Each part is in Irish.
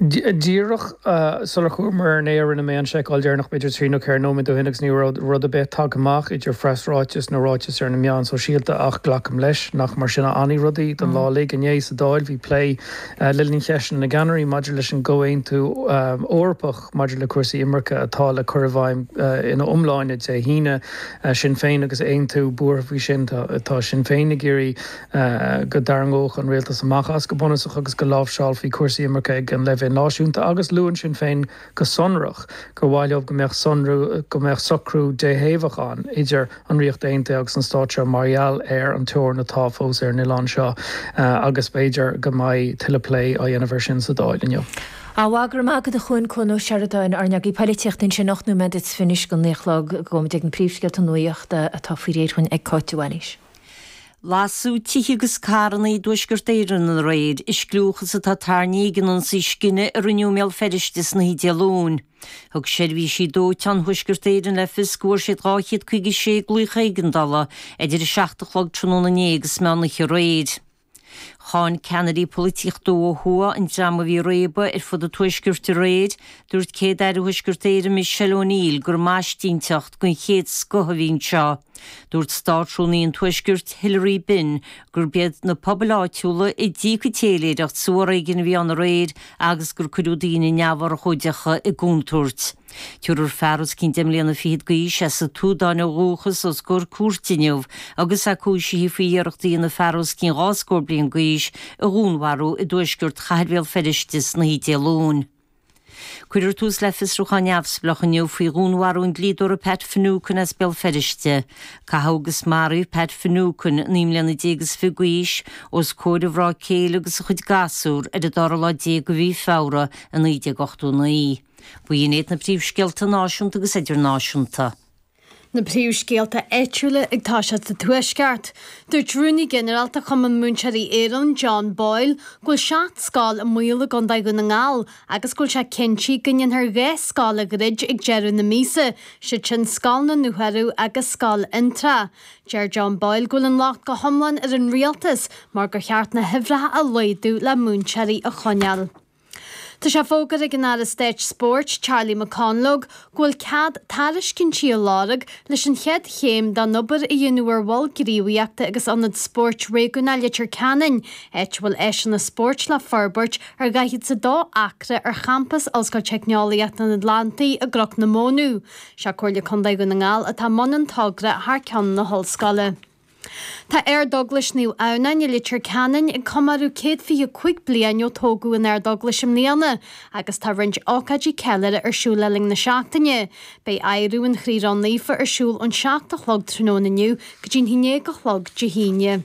Díreach sular chuamar ar an aer rinne mé an seiceáil deireanach, b'fhéidir trí nó ceithre nóiméad ó shin agus ní raibh rud ar bith tagtha amach idir phreasráiteas nó ráiteas ar na meáin sóisialta ach glacaim leis nach mar sin a fhanfaidh rudaí don lá uilig. Inné sa Dáil bhí plé le linn cheisteanna na gceannairí maidir leis an gComhaontú Eorpach maidir le cúrsaí imirce atá le cur i bhfeidhm ina iomláine Dé hAoine. Sinn Féin agus Aontú buartha faoi sin. Tá Sinn Féin ag iarraidh go dtarraingeodh an rialtas amach as go bunúsach agus go láimhseálfaí cúrsaí imirce ag an leibhéal náisiúnta agus luann Sinn Féin go sonrach gur mhaith leo go mbeadh sonrú, go mbeadh socrú déthaobhach ann idir an Ríocht Aontaithe agus an stát seo mar gheall ar an teorainn atá fós ar an oileán seo agus b'fhéidir go mbeidh tuilleadh plé á dhéanamh air sin sa Dáil inniu. Á, go raibh maith agat a Chuain, Cuan Ó Seireadáin, ár n-eagraí polaitíochta ansin, 8 nóiméad is fiche anois go naoi a chlog, gabhfaimid ag na príomhscéalta nuachta atá faoi réir dhúinn ag Cáit de Bhailís. Lasadh tithe agus carranna i dTuaisceart Éireann aréir i scliúchas atá tarraingthe ag an ionsaí scine a rinneadh i mBéal Feirste san oíche Dé Luain. Thug seirbhísí dóiteáin Thuaisceart Éireann le fios go bhfuair siad 256 glaoch éigeandála idir 7 a chlog tráthnóna inné agus meán oíche aréir. Cháin ceannairí polaitíochta ó thuaidh an dream a bhí ag réabadh ar fud an Tuaiscirt aréir. Dúirt Céad-Aire Thuaisceart Éireann Michelle O'Neill gur maistinteacht den chéad scoth a bhí anseo. Dúirt Státrúnaí an Tuaiscirt Hilary Benn gurb iad na pobail áitiúla a d'íoc an téiléireacht sa bhforéigean a bhí ann aréir agus gur cuireadh daoine neamhurchóideacha i gcontúirt. Tabharfar fear os cionn deich mbliana fichead d'aois as an tSúdáin ó dhúchas os comhair cúirte inniu agus é cúisithe faoi iarracht a dhéanamh fear os cionn dhá scór bliain d'aois a dhúnmharú i dtuaisceart chathair Bhéal Feirste san oíche Dé Luain. Cuirfear tús le fiosrúchán neamhspleách inniu faoi dhúnmharú an dlíodóra Pat Finucane as Béal Feirste. Caitheadh agus maraíodh Pat Finucane, 19 mbliana is fiche d'aois, os comhair a mhná céile agus a chuid gasúr ar an dara lá déag de mhí Feabhra i 1989. B'in iad na príomhscéalta náisiúnta agus idirnáisiúnta. Na príomhscéalta áitiúla ag toiseacht sa Tuaisceart. Dúirt Rúnaí Ginearálta Chumann Múinteoirí Éireann, John Boyle, go bhfuil 7 scoil i mbaol i gContae Dhún na nGall agus go bhfuil sé cinnte go ndéanfar 2 scoil a dhruid ag deireadh na míosa, siad sin Scoil na nDúchearú agus Scoil Fhionntrá. Deir John Boyle go bhfuil an locht go hiomlán ar an rialtas mar gur cheart na huimhreacha a laghdú le múinteoirí a choinneáil. Tá sé fógartha ag an Aire Stáit Spóirt, Charlie McConalogue, go bhfuil cead tairiscintí a lorg leis an chéad chéim den obair a dhéanamh ar Mhol Gníomhaíochta agus Ionad Spóirt Réigiúnach Leitir Ceanainn, áit a bhfuil áiseanna spóirt le forbairt ar 42 acra ar champas Ollscoil Teicneolaíochta an Atlantaigh i gCnoc na Mónadh. Sé Comhairle Contae Dhún na nGall atá i mbun an togra thar ceann na hollscoile. Tá Ardeaglais Naomh Adhamhnáin i Leitir Ceanainn ag comóradh 125 bliain ó tógadh an Ardeaglais i mbliana agus tá roinnt ócáidí ceiliúrtha ar siúl le linn na seachtaine. Beidh adhradh an Chroí Ró-Naofa ar siúl ón 7 a chlog tráthnóna inniu go dtí'n 11 a chlog Dé hAoine.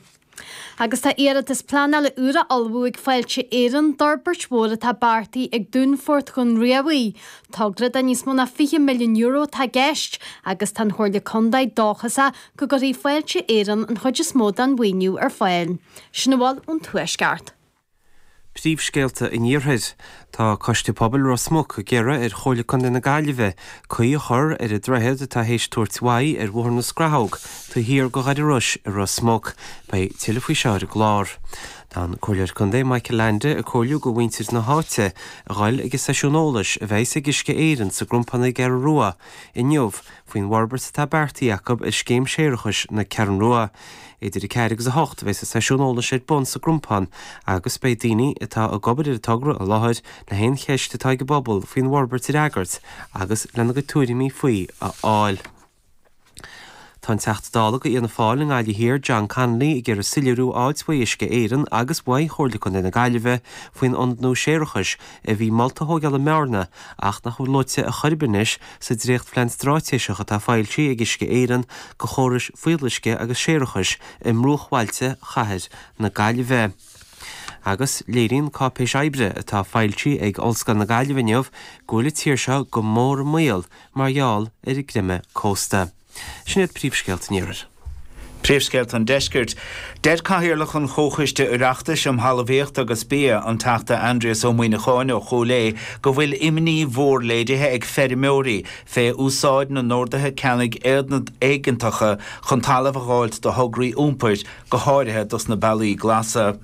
Agus tá iarratas pleanála úr á ullmhú ag Fáilte Éireann d'fhorbairt mhór atá beartaithe ag Dúnfort Dhún Riabhaigh. Togra de níos mó ná €20 milliún atá i gceist agus tá an Chomhairle Contae dóchasach go gcuirfidh Fáilte Éireann an chuid is mó den mhaoiniú ar fáil. Sin a bhfuil ón Tuaisceart. Príomhscéalta an Iarthair. Tá Coiste Pobail Ros Muc ag iarraidh ar Chomhairle Contae na Gaillimhe caoi a chur ar an droichead atá théis tabhairt uaidh ar Bhóthar na Scrathóg taobh thiar de Dhoire Rois i Ros Muc. Beidh tuilleadh faoi seo ar an gclár. Tá an Comhairleoir Contae Michael Leainde ag comhairliú go mhuintir na háite a ghoil ag an seisiún eolais a bheas ag Uisce Éireann sa gCrompán ar an gCeathrú Rua inniu faoin bhforbairt atá beartaithe acu ar scéim séarachais na Ceathrún Rua. Idir 4 agus 8 a bheas an seisiún eolais ar bun sa gCrompán agus beidh daoine atá ag obair ar an togra i láthair le haon cheist atá ag an bpobal faoin bhforbairt a fhreagairt agus lena gcuid tuairimí faoi a fháil. Tá an Teachta Dála do Fhianna Fáil i nGaillimh Thiar, John Connolly, ag iarraidh soiléiriú a fháilt uaidh Uisce Éireann agus uaidh Chomhairle Contae na Gaillimhe faoin ionad nua séarachais a bhí molta a thóigeáil i mBearna ach nach bhfuil luaite ar chor ar bith anois sa dréachtphlean stráitéiseach atá foilsithe ag Uisce Éireann do chórais fuíolluisce agus séarachais i mbruachbhailte chathair na Gaillimhe. Agus léiríonn cáipéis oibre atá foilsithe ag Ollscoil na Gaillimhe inniu go bhfuil an tír seo go mór i mbaol mar gheall ar an gcreimeadh cósta. Sin iad príomhscéalta an Iarthair. Príomhscéalta an Deiscirt. Deir Cathaoirleach an Chomhchoiste Oireachtais um Thalmhaíocht agus Bia, an Teachta Aindrias Ó Muíneacháin ó Chúil Aodha, go bhfuil imní mhór léirithe ag feirmeoirí fé úsáid na n-orduithe ceannaigh éigeantacha chun talamh a dh'fháilt do thograí iompair, go háirithe dos na bealaí glasa.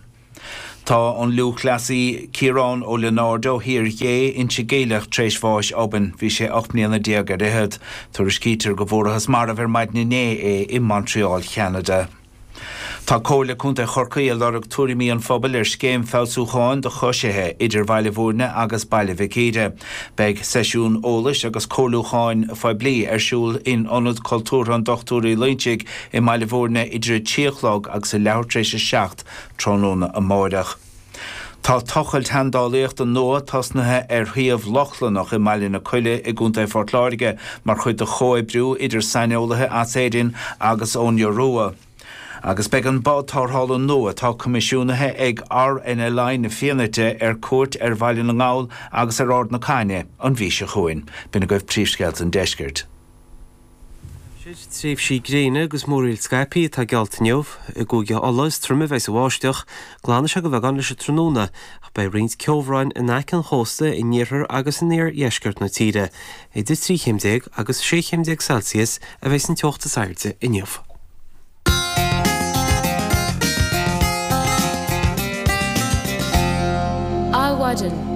Tá an lúthchleasaí Ciarán Ó Lionáird ó Thír Ghé, Inse Geimhleach tar éis bháis obann. Bhí sé 18 mbliana ar fhichead. Tuairiscítear go bhfuarathas marbh ar maidin inné é i Montreal, Cheanada. Tá Comhairle Contae Chorcaí ag lorg tuairimí an phobail ar scéim feabhsúcháin do choisithe idir Bhaile Bhúirne agus Baile Mhic Íre. Beidh seisiún eolais agus comhairliúcháin phoiblí ar siúl in Ionad Cultúrtha an Dochtúir Uí Loingsigh i mBaile Bhúirne idir 3 a chlog agus a leathuair tar éis 7 tráthnóna amáireach. Tá tochailt sheandálaíochta nua tosnaithe ar shuíomh Lochlannach i mBaile na Coille i gContae Phort Láirge mar chuid de chomhoibriú idir saineolaithe as Éirinn agus ón Iorua. Agus beidh an bád tarrthála nua atá coimisiúnaithe ag RNLI na Fianaite ar cuairt ar Bhaile na nGall agus ar Ard na Caithne an mhí seo chugainn. B'in agaibh príomhscéalta an deiscirt. Aimsir, Tréimhsí gréine agus múraíl scaipthe atá geallta inniu. I gCúige Uladh is troime a bheas an bháisteach. Glanfaidh sé de bheagán leis an tráthnóna, ach beidh roinnt ceobhráin in aice an chósta in iarthar agus in iardheisceart na tíre. Idir 13 chéim agus 16 chéim Celsius a bheas an teocht is airde inniu. Adhmhaidin.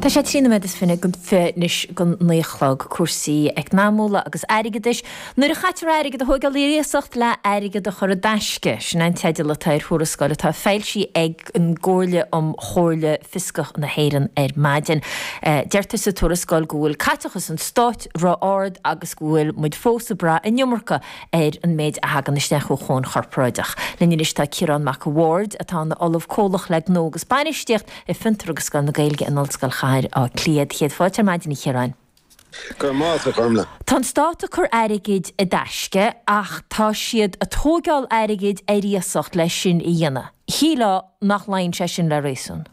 Tá sé 23 nóiméad anois go 9 a chlog. Cúrsaí eacnamúla agus airgeadais. Nuair a chaitear airgead a thógáil ar iasacht le airgead a chur i dtaisce. Sin an teideal atá ar thuarascáil atá foilsithe ag an gComhairle um Chomhairle Fioscach na hÉireann ar maidin. Deirtear sa tuarascáil go bhfuil caiteachas an stáit ró-ard agus go bhfuil muid fós ag brath an iomarca ar an méid a thagann isteach ó cháin chorparáideach. Linn anois tá Ciarán Mac a' Bhaird, atá ina Ollamh Comhlach le Gnó agus Bainistíocht i Fiontar agus Scoil na Gaeilge in Ollscoil Chathair Átha Cliath. Céad fáilte ar maidin, a Chiaráin. Go raibh maith agat, a Ghormlaith. Tá an stát ag cur airgid i dtaisce ach tá siad ag tóigeáil airgid ar iasacht leis sin a dhéanamh. Shílfeá nach luíonn sé sin le réasún.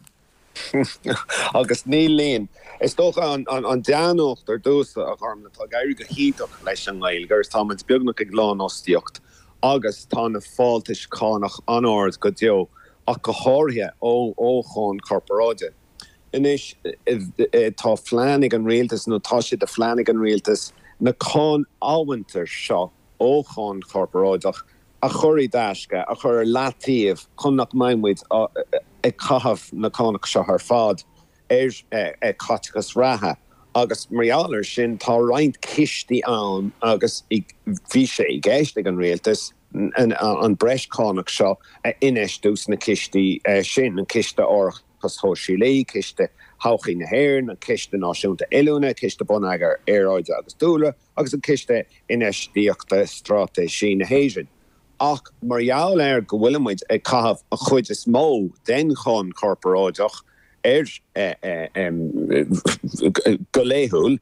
Agus ní luíonn. Is dócha an dea-nuacht ar dtús, a Ghormlaith, tá ag éirí go hiontach leis an nGaeilge agus tá muid beagnach ag lánfhostaíocht agus tá na fáltais cánach an-ard go deo, ach go háirithe ó cháin chorparáide. Anois, tá phlean ag an rialtas, nó tá sé de phlean ag an rialtas, na cáin amhantair seo ó cháin chorparáideach a chur i dtaisce, a chur ar leataobh chun nach mbeidh muid ag caitheamh na cánach seo ar fad ar chaiteachas reatha. Agus mar gheall air sin, tá roinnt cistí ann agus bhí sé i gceist ag an rialtas an breis cánach seo a infheistiú sna cistí sin, an Ciste Árachais Shóisialaí, Ciste Thodhchaí na hÉireann, an Ciste Náisiúnta Oiliúna, Ciste Bonneagair Aeráide agus Dúlra. agus an Ciste Infheistíochta Straitéisí na hÉireann. Ach mar gheall ar go bhfuilimid ag caitheamh an chuid is mó den cháin chorparáideach ar go laethúil,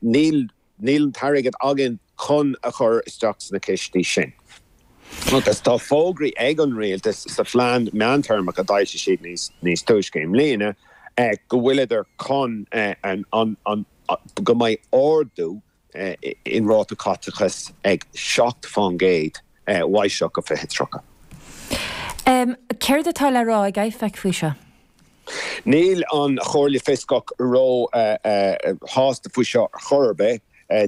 níl níl an t-airgead againn chun a chur isteach sna cistí sin. Agus tá fógraí ag an rialtas sa phlean meántéarmach a d'fhoilsigh siad níos túisce i mbliana go bhfuileadar chun an an go mbeidh ardú in ráta caiteachais ag 7% uaidh seo go 2030. Céard atá le rá ag IFAC faoi seo? Níl an Chomhairle Fioscach ró-shásta faoi seo ar chor ar bith.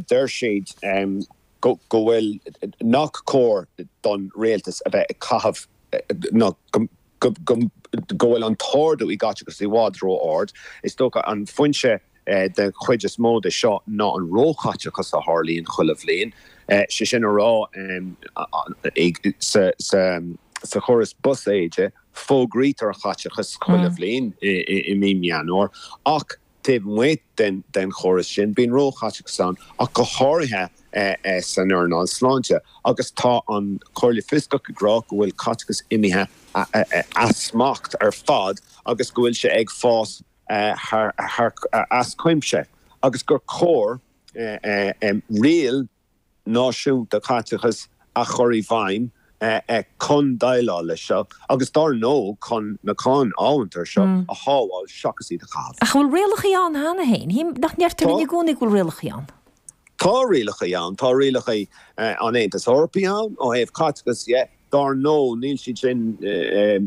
Deir siad go bhfuil nach cóir don rialtas a bheith ag caitheamh ná go go bhfuil an t-ardú i gcaiteachas i bhfad ró-ard. Is dócha an foinse den chuid is mó de seo ná an róchaiteachas a tharlaíonn chuile bhliain, sé sin a rá sa chóras buiséid fógraítear an caiteachas chuile bhliain i mí Meán Fómhair ach Taobh amuigh den chóras sin, bíonn róchaiteachas ann, ach go háirithe san earnáil sláinte, agus tá an Chomhairle Fioscach ag rá go bhfuil caiteachas imithe as smacht ar fad agus go bhfuil sé ag fás thar as cuimse agus gur chóir riail náisiúnta caiteachais a chur i bhfeidhm chun déileáil leis seo agus dár ndóigh chun na cáin amhantair seo a shábháil seachas iad a chaitheamh. Ach an bhfuil rialacha ann cheana féin? Nach ndeirtear linn i gcónaí go bhfuil rialacha ann? Tá rialacha ann. Tá rialacha an Aontais Eorpaigh ann ó thaobh caiteachas dhe. Dár ndóigh, níl siad sin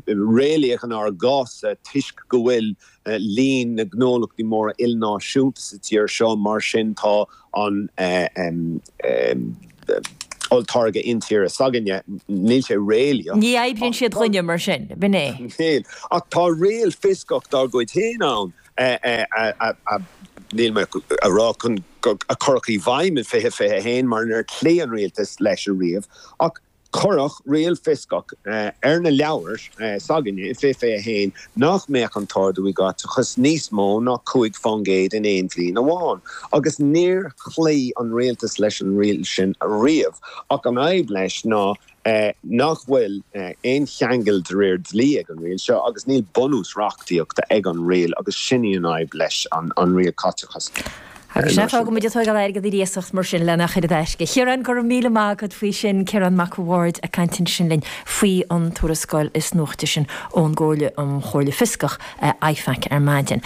réalaíoch inár gcás-sa toisc go bhfuil líon na ngnólachtaí móra ilnáisiúnta sa tír seo, mar sin tá an. Olltáirge intíre s'againne, níl sé réalaíoch. Ní oibríonn siad dhúinne mar sin, b'in é. Níl. Ach tá riail fioscach dár gcuid féin ann a, níl mé a rá chun, a cuireadh i bhfeidhm in 2021 mar níor chloígh an rialtas leis ariamh, ach cuireadh riail fioscach ar na leabhair s'againne i 2021 nach mbeadh an t-ardú i gcaiteachas níos mó ná 5% in aon bhliain amháin. Agus níor chloígh an rialtas leis an riail sin ariamh. Ach an fhadhb leis ná nach bhfuil aon cheangal de réir dlí ag an riail seo agus níl bunús reachtaíochta ag an riail agus sin í an fhadhb leis an riail caiteachais. Agus sin é fágann muid ag tóigeáil airgead ar iasacht mar sin lena chur i dtaisce. A Chiaráin, go raibh míle maith agat faoi sin. Ciarán Mac a' Bhaird ag caint ansin linn faoi an tuarascáil is nuachta sin ón gComhairle um Chomhairle Fioscach, IFAC, ar maidin.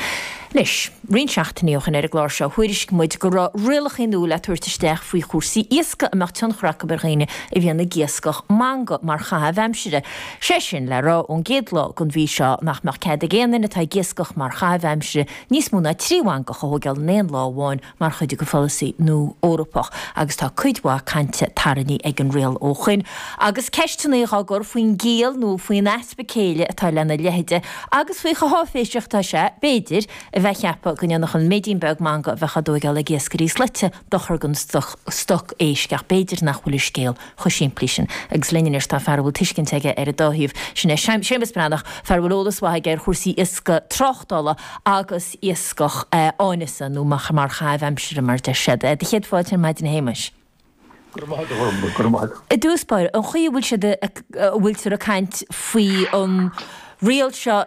Anois, roinnt seachtainí ó shin ar an gclár seo, thuairiscigh muid go raibh rialacha nua le tabhairt isteach faoi chúrsaí iascaigh a mbeadh tionchar acu ar dhaoine a bhíonn ag iascach manga mar chaitheamh aimsire. Sé sin le rá, ón gcéad lá den mhí seo, nach mbeadh cead ag aon duine atá ag iascach mar chaitheamh aimsire níos mó ná 3 mhangach a thóigeáil in aon lá amháin mar chuid de pholasaí nua Eorpach agus tá cuid mhaith cainte tarraingthe ag an riail ó shoin agus ceisteanna á gcur faoin gciall nó faoin easpa céille atá lena leithide agus faoi chomh háiféiseach atá sé, b'fhéidir, a bheith ag ceapadh go ndéanfadh an méidín beag manga a bheadh á dtóigeáil ag iascairí slaite dochar don stoc éisc ach b'fhéidir nach bhfuil an scéal chomh simplí sin. Agus linn anois tá fear a bhfuil tuiscint aige ar an dá thaobh, sin é Séamus Breathnach, fear a bhfuil eolas mhaith aige ar chúrsaí iascaigh tráchtála agus iascach áineasa, nó mar chaitheamh aimsire mar deir siad. Do chéad fáilte ar maidin a Shéamais. Go raibh maith agat, a Ghormfhlaith, go raibh maith agat. I dtús báire, an chaoi a bhfuil siad, a bhfuiltear ag caint faoi an riail seo,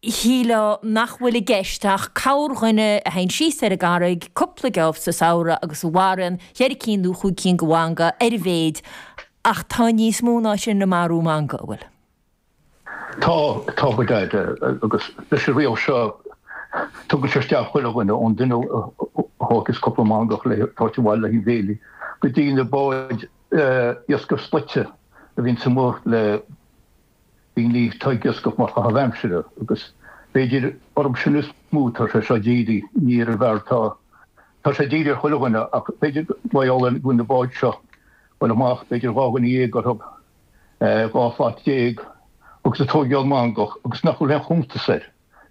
shílfeá nach bhfuil i gceist ach corrdhuine a théann síos ar an gcarraig cúpla geábh sa samhradh agus a mharaíonn cheithre cinn nó chúig cinn de mhanga ar a mhéid, ach tá níos mó ná sin ag marú manga, an bhfuil? Tá, tá go deimhin, agus leis an riail seo tugann sé isteach chuile dhuine, ón duine a thógfas cúpla mangach le tabhairt abhaile le haghaidh béilí, go dtí na báid iascaigh slaite a bhíonns amuigh le daoine atá ag iascach mar chaitheamh aimsire agus b'fhéidir orthu sin is mó tá sé seo dírithe, ní ar an bhfear atá, tá sé dírithe ar chuile dhuine ach b'fhéidir mar gheall ar go bhfuil na báid seo bhuel amach b'fhéidir 12 dhuine orthu, 12 shlat agus ag tóigeáil mangach agus nach bhfuil aon chuntas air.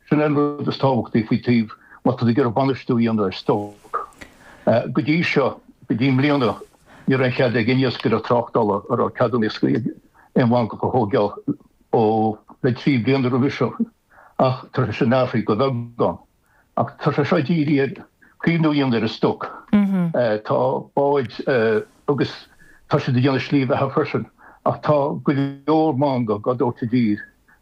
Sin é an rud is tábhachtaí faoi taobh má tá tú ag iarraidh bainistiú a dhéanamh ar stoc. Go dtí seo, go dtí i mbliana, ní raibh aon chead ag aon iascaire tráchtála a raibh ceadúnas iascaigh aon mhangach a thóigeáil ó le 3 bliana roimhe seo ach tá sé sin athraithe go beagán. Ach tá sé seo dírithe ar caomhnú a dhéanamh ar an stoc. Tá báid agus tá siad ag déanamh slí bheatha freisin ach tá go leor mangach á dtabhairt i dtír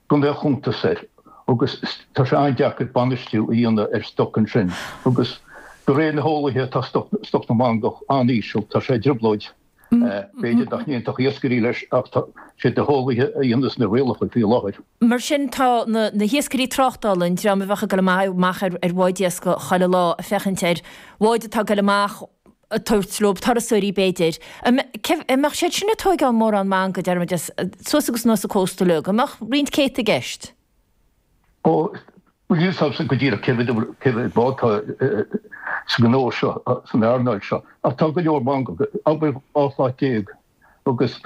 gan aon chuntas air agus tá sé an-deacair bainistiú a dhéanamh ar stoc ansin agus de réir na heolaithe tá stoc na mangach an-íseal, tá sé i dtrioblóid. B'fhéidir nach n-aontódh iascairí leis ach tá siad na heolaithe a dhéanas na rialacha faoi láthair. Mar sin tá na hiascairí tráchtála, an dream a bheadh ag dul amach ar bháid iascaigh chuile lá ag féachaint ar bháid atá ag dul amach ag tabhairt leo turasóirí b'fhéidir, an mbeadh siad sin ag tóigeáil mórán manga, déarfaimid, suas agus anuas an cósta uilig, an mbeadh roinnt céadta i gceist? Ó, níl a fhios agamsa go díreach cé mhéad cé mhéad bád atá sa ghnó seo, san earnáil seo, ach tá go leor mangach, abair 12 shlat agus.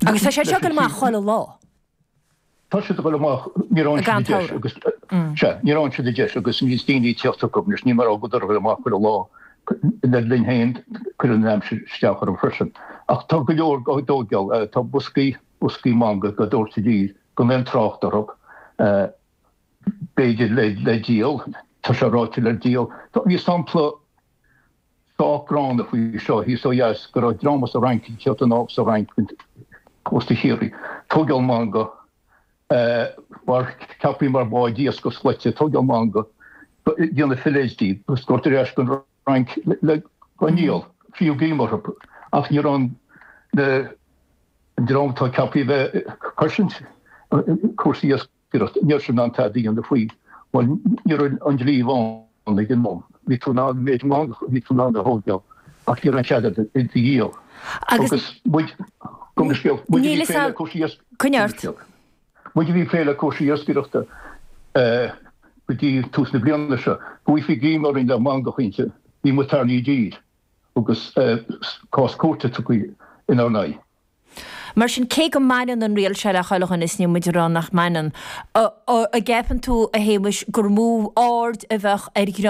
Agus tá siad seo ag dul amach chuile lá. Tá siad ag dul amach, nuair a fhaigheann siad an deis agus, sea, nuair a fhaigheann siad an deis agus níos daoine ag tíocht chucu anois, níl mé ag rá go bhfuil siad ag dul amach chuile lá, le linn féin, cuireann an aimsir isteach orthu freisin. Ach tá go leor á dtóigeáil, tá boscaí, boscaí manga á dtabhairt i dtír. gan aon trácht orthu, b'fhéidir le díol, tá sé ráite le díol. Bhí sampla sách gránna faoi seo thíos ó dheas go raibh dream as an Fhrainc ag tíocht anall as an Fhrainc go cósta Chiarraí, tóigeáil manga, mar ceaptha mar bháid iascaigh slaite, tóigeáil manga, déanamh fillets díobh agus tabhairt ar ais go Fhrainc le go ndíol, fiú greim orthu ach ní raibh an an dream atá ceaptha a bheith ag cosaint cúrsaí iascaireachta, ní raibh siad in ann tada a dhéanamh faoi. Bhuel, ní raibh an dlí ann ag an am. Bhí tú in ann an méid mangach a bhí tú in ann a thógáil ach ní raibh aon chead agat iad a dhíol. Agus muid, gabh mo leithscéal, muid a bhí ag plé le cúrsaí iascaireachta. Muid a bhí ag plé le cúrsaí iascaireachta go dtí tús na bliana seo, go bhfaighfí greim orainn le mangach inti, bhí muid tarraingthe i dtír. agus cás cúirte tugtha. inár n-aghaidh. Mar sin, cé go mbaineann an riail seo le chuile dhuine, is níl muid ag rá nach mbaineann, an gceapann tú, a Shéamuis, gur mó aird a bheadh ar dhream.